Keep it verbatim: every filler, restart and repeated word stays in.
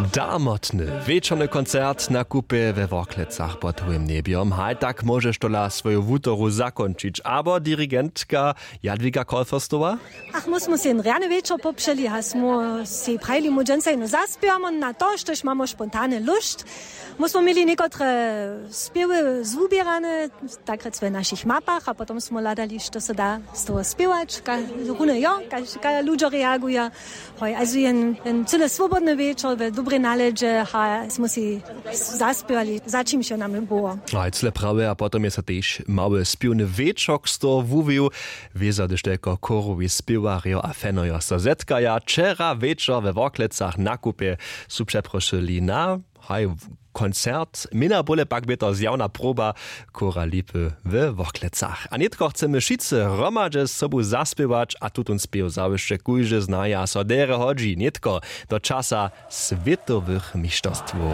Darmotny wječorny koncert na kupje we worklecach pod howim njebjom. Haj tak móžeš tola swoju wutoru zakónčić abo dirigentka jadwiga kolferstowa. Ach my smy sej jen rjany wječor popřeli a smy sej prajili my dźensa jeno zaspěwamy na to štož mamy spontany lóšt. My smy měli někotre spěwy zwuběrane, tak rěc w našich mapach a potom smy hladali što se da z toho spěwać, runy jo, kaž ludźo reaguja. Hoj, also jen cyle swobodny wječor w dobrej naledźe a smy sej zaspěwali za čimž jo nam było. Haj cyle prawje a potom je so tež mały spěwny wječor z toho wuwił. Wězo hdyž telko chórowi spěwarjo a fenojo so zetkaja wčera wječor we worklecach na kupje su přeprošyli na haj koncert měna bóle pak bě to zjawna proba chóra lipy we worklecach a nětko chcemy wšitcy hromadźe sobu zaspěwać a tutón spěw zawěsće kóždy znaja so derje hodźi nětko do časa swětowych mišterstwow.